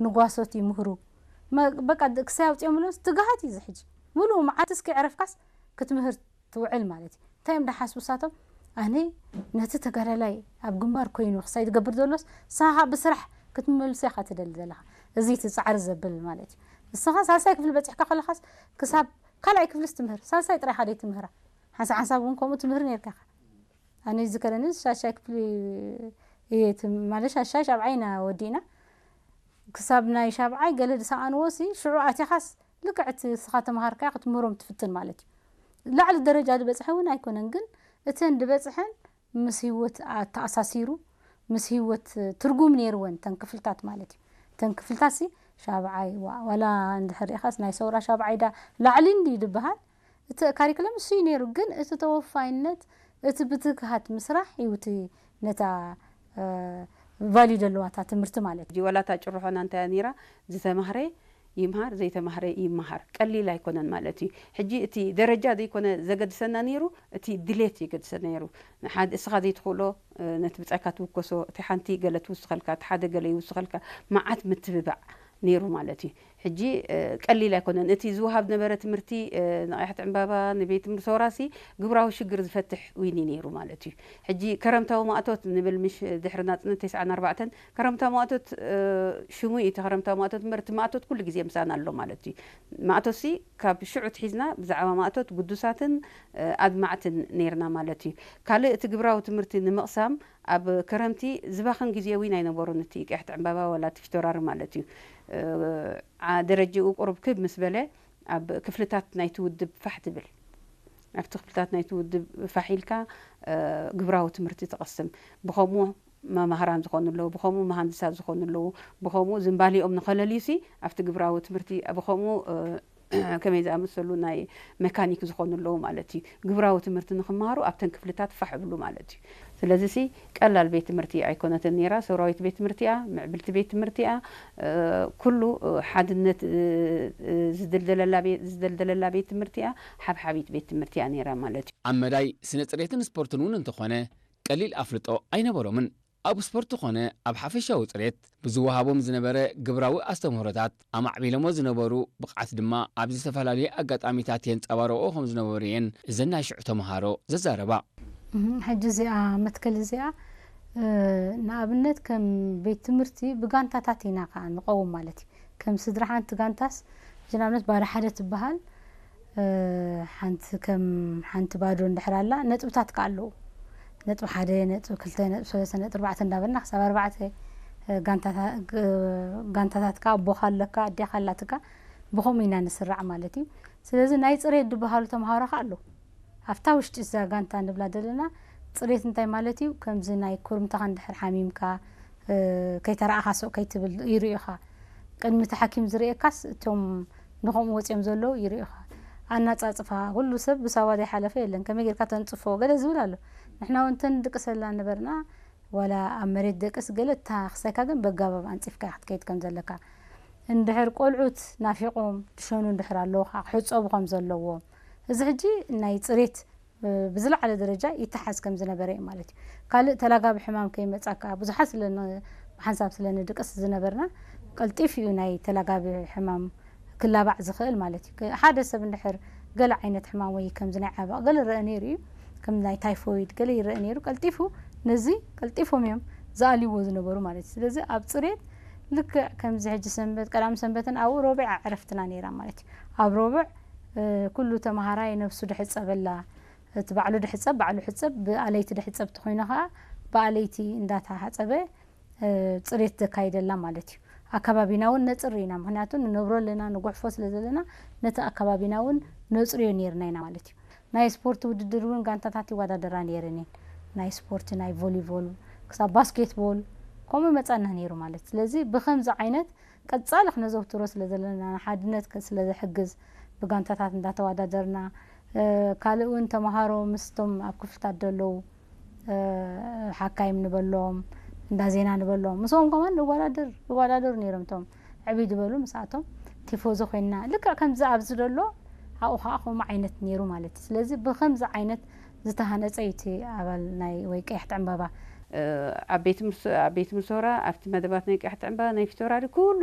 ንጓሶት ይምህሩ። መ- በቃ ድ- ክሳይ ኣውፅኦም ብሎስ ትግሃት እዩ ዝሕጂ። ሙሉእ መዓት እስኪ ዕረፍካስ ክትምህር ትውዕል ማለት እዩ። እንታይ እዮም ደሓስቡ ሳቶም? ኣነ ነቲ ተጋዳላይ ኣብ ግንባር ኮይኑ ክሳይ ትገብር ዘሎስ ንስኻ ብስራሕ ክትመልሶ ኢኻ ትደሊ ዘለኻ። እዚ እቲ ፃዕሪ ዘብል ማለት እዩ። ንስኻ ሳልሳይ ክፍሊ በፂሕካ ከለኻስ ክሳብ ካልኣይ ክፍልስ ትምህር፣ ሳልሳይ ጥራይ ኢኻ ደይ ትምህራ። ሓንሳብ ሓንሳብ እውን ከምኡ ትምህር ነርካ ኢኻ። ኣነ ዝከረኒ ሻሻይ ክፍሊ እየ ትም- ማለት ሻሻይ ሻብዓይ ኢና ወዲእና። ክሳብ ናይ ሻብዓይ ገለ ዝሰኣንዎ ሲ ሽዑ ኣቲኻስ ልክዕ እቲ ንስኻ ተምሃርካዮ ክትምህሮም ትፍትን ማለት እዩ። ላዕሊ ደረጃ ዝበፅሐ እውን ኣይኮነን፣ ግን እተን ዝበፅሐን ምስ ህይወት ኣተኣሳሲሩ፣ ምስ ህይወት ትርጉም ነይርወን እተን ክፍልታት ማለት እዩ። እተን ክፍልታት ሲ ሻብዓይ ዋ- ዋላ እንድሕር ሪኢኻስ ናይ ሰውራ ሻብዓይ ዳ ላዕሊ እንዲ ዝበሃል እቲ ካሪክለም እሱ እዩ ነይሩ፣ ግን እቲ ተወፋይነት እቲ ብትግሃት ምስራሕ እዩ እቲ ነታ ቫልዩ ዘለዋ እታ ትምህርቲ ማለት እዩ። ሕጂ ዋላ እታ ጭርሖና እንታይ እያ ነይራ? ዝተማህረ ይምሃር፣ ዘይተማህረ ይምሃር። ቀሊል ኣይኮነን ማለት እዩ። ሕጂ እቲ ደረጃ ዘይኮነ ዘገድሰና ነይሩ፣ እቲ ድሌት የገድሰና ነይሩ። ንሓደ እስኻ ዘይትኽእሎ፣ እ፣ ነቲ ብጻይካ ትውከሶ፣ እቲ ሓንቲ ገለ ትውስኸልካ፣ እቲ ሓደ ገለ ይውስኸልካ፣ መዓት ምትብባዕ ነይሩ ማለት እዩ። ሕጂ፣ እ፣ ቀሊል ኣይኮነን። እቲ ዝወሃብ ዝነበረ ትምህርቲ፣ እ፣ ንቐያሕቲ ዕምባባ፣ ንቤት ትምህርቲ ሰውራሲ ግብራዊ ሽግር ዝፈትሕ ዊኒ ነይሩ ማለት እዩ። ሕጂ ከረምታዊ ማእቶት ንብል ምሽ ድሕሪ ናጽነት ተስዓን ኣርባዕተን ከረምታ ማእቶት፣ እ፣ ሽሙ እዩ እቲ ከረምታ ማእቶት እምበር፣ እቲ ማእቶት ኩሉ ግዜ ምሳና ኣሎ ማለት እዩ። ማእቶትሲ ካብ ሽዑ ትሒዝና ብዛዕባ ማእቶት ግዱሳትን፣ እ፣ ኣድማዕትን ነይርና ማለት እዩ። ካልእ እቲ ግብራዊ ትምህርቲ ንምቕሳም ኣብ ከረምቲ ዝባኽን ግዜ እውን ኣይነበሩን፣ እቲ ቀያሕቲ ዕምባባ ዋላ እቲ ፊቶራሪ ማለት እዩ። እ፣ ዓ-፣ ደረጃኡ ቁሩብ ክብ ምስ በለ ኣብ ክፍልታት ናይቲ ውድብ ፋሕ ትብል። ኣብቲ ክፍልታት ናይቲ ውድብ ፋሕ ኢልካ፣ እ፣ ግብራዊ ትምህርቲ ትቐስም። ብኸምኡ መማህራን ዝኾኑ ኣለዉ፣ ብኸምኡ መሃንድሳት ዝኾኑ ኣለዉ፣ ብኸምኡ ዝንባሊኦም ንኸለልዩሲ ኣብቲ ግብራዊ ትምህርቲ ብኸምኡ፣ እ፣ ከመይ ዝኣመሰሉ ናይ መካኒክ ዝኾኑ ኣለዉ ማለት እዩ። ግብራዊ ትምህርቲ ንኽመሃሩ ኣብተን ክፍልታት ፋሕ እብሉ ማለት እዩ። ስለዚሲ ቀላል ቤት ትምህርቲ ኣይኮነትን ነይራ። ሰውራዊት ቤት ትምህርቲ እያ፣ ምዕብልቲ ቤት ትምህርቲ እያ። እ፣ ኩሉ፣ እ፣ ሓድነት፣ እ፣ እ፣ ዝድልደለላ ቤ-፣ ዝደልደለላ ቤት ትምህርቲ እያ፣ ሓብሓቢት ቤት ትምህርቲ እያ ነይራ ማለት እዩ። ኣብ መዳይ ስነ ጽሬትን ስፖርትን እውን እንተኾነ ቀሊል ኣፍልጦ ኣይነበሮምን። ኣብ ስፖርት ኮነ ኣብ ሓፈሻዊ ጽሬት ብዝወሃቦም ዝነበረ ግብራዊ ኣስተምህሮታት ኣማዕቢሎሞ ዝነበሩ ብቕዓት ድማ ኣብ ዝተፈላለዩ ኣጋጣሚታት የንጸባረቑ ከም ዝነበሩ እየን እዘን ናይ ሽዑ ተምሃሮ ዘዛረባ። እህ፣ ሕጂ እዚኣ መትከል እዚኣ እ፣ ንኣብነት ከም ቤት ትምህርቲ ብጋንታታት ኢና ከዓ ንቐውም ማለት እዩ። ከም ስድራ ሓንቲ ጋንታስ ሕጂ ንኣብነት ባዶ ሓደ ትበሃል፣ እ፣ ሓንቲ ከም ሓንቲ ባዶ እንድሕር ኣላ ነጥብታት ከዓ ኣለዉ። ነጥቢ ሓደ፣ ነጥቢ ክልተ፣ ነጥቢ ሰለስተ፣ ነጥቢ ኣርባዕተ እንዳበልና ክሳብ ኣርባዕተ፣ እ፣ ጋንታታ-፣ ግ-፣ ጋንታታት ከዓ ኣቦኻ ኣለካ፣ ኣዴኻ ኣላትካ፣ ብኸምኡ ኢና ንስራዕ ማለት እዩ። ስለዚ ናይ ጽሬት ዝበሃሉ ተምሃሮ ከዓ ኣለዉ። ኣብታ ውሽጢ እዛ ጋንታ ንብላ ዘለና ጽሬት እንታይ ማለት እዩ? ከምዚ ናይ ኩርምትኻ እንድሕር ሓሚምካ፣ እ፣ ከይተረኣኻ ስቕ ከይትብል ይርእዩኻ። ቅድሚ እቲ ሓኪም ዝርእየካስ እቶም ንኸምኡ ወጺኦም ዘለዉ ይርእዩኻ። ኣናጻጽፋ፣ ኩሉ ሰብ ብሳዋ ዘይሓለፈ የለን። ከመይ ጌርካ ተንጽፎ ገለ ዝብል ኣሎ። ንሕና እውን እንተንድቅሰላ ነበርና፣ ዋላ ኣብ መሬት ደቅስ ገለ እታ ክሳይካ ግን በጋባብ ኣንጺፍካ ክትከይድ ከም ዘለካ። እንድሕር ቆልዑት ናፊቖም ትሸኑ እንድሕር ኣለዉ ከዓ ክሕጸቡ ከም ዘለዎም። እዚ ሕጂ ናይ ጽሬት ብ-፣ ብዝለዓለ ደረጃ ይተሓዝ ከም ዝነበረ እዩ ማለት እዩ። ካልእ ተላጋቢ ሕማም ከይመጻካ ብዙሓት ስለ ን-፣ ብሓንሳብ ስለ ንድቅስ ዝነበርና ቀልጢፉ እዩ ናይ ተላጋቢ ሕማም ክላባዕ ዝኽእል ማለት እዩ። ከ-፣ ሓደ ሰብ እንድሕር ገለ ዓይነት ሕማም ወይ ከምዚ ናይ ዓበቕ ገለ ይረአ ነይሩ እዩ፣ ከም ናይ ታይፎይድ ገለ ይረአ ነይሩ፣ ቀልጢፉ ነዚ ቀልጢፎም እዮም ዝኣልይዎ ዝነበሩ ማለት እዩ። ስለዚ ኣብ ጽሬት ልክዕ ከምዚ ሕጂ ሰንበት፣ ቀዳም ሰንበትን ኣብኡ ሮብዕ ዕረፍትና ነይራ ማለት እዩ። ኣብ ሮብዕ፣ እ፣ ኩሉ ተምሃራይ ነብሱ ድሕጸበላ፣ እቲ ባዕሉ ድሕጸብ፣ ባዕሉ ሕጸብ፣ ብኣለይቲ ድሕጸብ ተኾይኑ ኸዓ ብኣለይቲ እንዳተሓጸበ፣ እ፣ ጽሬት ዘካይደላ ማለት እዩ። ኣከባቢና እውን ነጽሪ ኢና፣ ምኽንያቱ ንነብሮ ኣለና፣ ንጉሕፎ ስለ ዘለና ነቲ ኣከባቢና እውን ነጽርዮ ነይርና ኢና ማለት እዩ። ናይ ስፖርት ውድድር እውን ጋንታታት ይወዳደራ ነይረን እየን። ናይ ስፖርት፣ ናይ ቮሊቮል፣ ክሳብ ባስኬትቦል ከምኡ መጻና ነይሩ ማለት። ስለዚ ብኸምዚ ዓይነት ቀጻሊ ክነዘውትሮ ስለ ዘለና፣ ንሓድነት ከ-፣ ስለ ዘሕግዝ ብጋንታታት እንዳተወዳደርና፣ እ፣ ካልእ እውን ተምሃሮ ምስቶም ኣብ ክፍልታት ዘለዉ፣ እ፣ ሓካይም ንበሎም፣ እንዳ ዜና ንበሎም፣ ምስኦም ከማን ንወዳደር፣ ይወዳደሩ ነይሮም። እቶም ዕብይ ዝበሉ ምስኣቶም ቲፎዞ ኮይንና፣ ልክዕ ከምዚ ኣብዚ ዘሎ ኣብኡ ከዓ ከምኡ ዓይነት ነይሩ ማለት እዩ። ስለዚ ብኸምዚ ዓይነት ዝተሃነጸ እዩ እቲ ኣባል ናይ ወይ ቀያሕቲ ዕምባባ። እ፣ ኣብ ቤት ትምህርቲ፣ ኣብ ቤት ትምህርቲ ሶራ፣ ኣብቲ መደባት ናይ ቀያሕቲ ዕምባባ፣ ናይ ፊቶራሪ ኩሉ